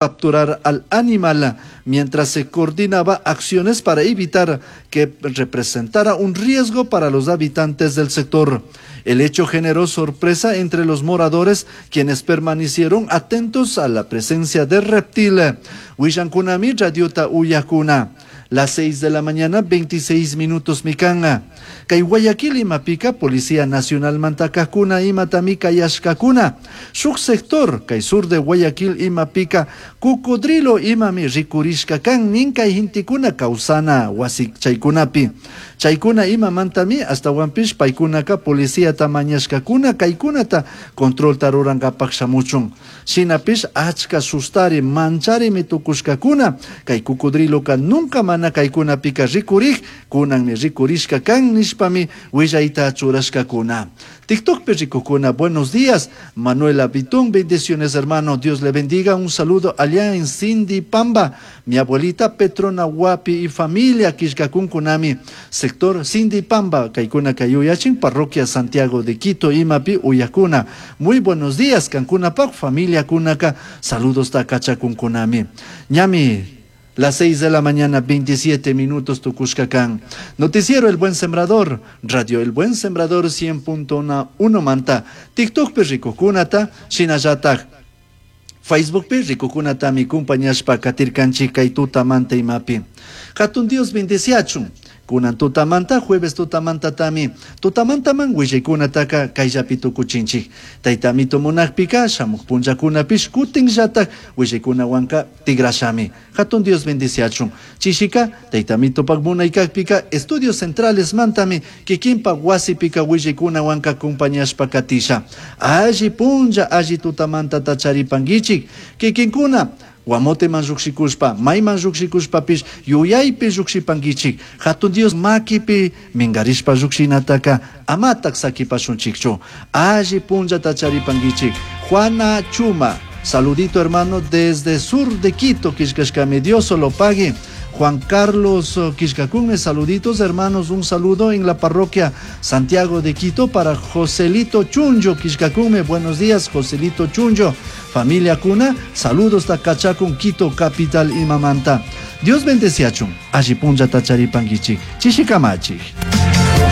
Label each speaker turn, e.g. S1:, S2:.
S1: Capturar al animal mientras se coordinaba acciones para evitar que representara un riesgo para los habitantes del sector. El hecho generó sorpresa entre los moradores, quienes permanecieron atentos a la presencia del reptil. Huillankunami radiota uyakuna. Las 6 de la mañana, 26 minutos mikanga. Kay Guayaquil imapika Policía Nacional mantakakuna imatami kayashkakuna. Shuk sector kay sur de Guayaquil imapika cocodrilo imami rikurishka kan nin kay hintikuna kawsana wasi chaykunapi. Chaykuna imamantami ashtawanpish paykunaka policiata mañashkakuna kaykunata controlta rurankapak shamuchun. Shinapish achka sustari mancharimi tukushkakuna kay cocodriloka nunca mana kaykunapika rikurik kunanmi rikurishka kan nishpami willayta churashkakuna. TikTokpi rikukuna, buenos días. Manuela Vitón, bendiciones hermano, Dios le bendiga. Un saludo allá en Cindy Pamba, mi abuelita Petrona Huapi y familia Quillcacunkunami, sector Cindy Pamba, Caicuna Cayuyachin, parroquia Santiago de Quito, Imapi, Uyacuna. Muy buenos días, Cancunapaj, familia Kunaka, saludos Takachacunkunami. Ñami, las 6 de la mañana, 27 minutos, tukushka kan. Noticiero El Buen Sembrador, Radio El Buen Sembrador 100.1 manta. TikTok rikukunata, shinallatak. Facebook pi rikukunatami kumpañashpa katirkanchik kay tutamanta imapi. Hatun Dios bendeciachun. Kunan tutamanta, jueves tutamantatami. Tutamantaman willaykunataka kayllapi tukuchinchik. Taytamito munakpika, shamuq punllakunapish kutinllatak willaykunawanka tigrashami. Hatun Dios bendeciachun. Chishika, taytamitopak munaykakpika, estudios centrales mantami, kikinpak wasipika willaykunawanka kumpañashpa katisha. Alli punlla, alli tutamantata charipankichik. Kikinkuna, Guamoteman lluqshikuspa, mayman lluqshikushpapish yuyaypi lluqshipankichik. Hatun Dios makipi minkarishpa lluqshinataka amatak sakipashunchikchu. Alli punllata charipankichik. Juana Chuma, saludito hermano desde sur de Quito, killkashkami, Dios lo pague. Juan Carlos Quillcacunme, saluditos hermanos, un saludo en la parroquia Santiago de Quito para Joselito Chunjo Quillcacunme, buenos días Joselito Chunjo, familia Cuna, saludos Tacachacun, Quito, capital Imamanta. Dios bendeciachun, alli punlla tacharipankichik, chishikamachi.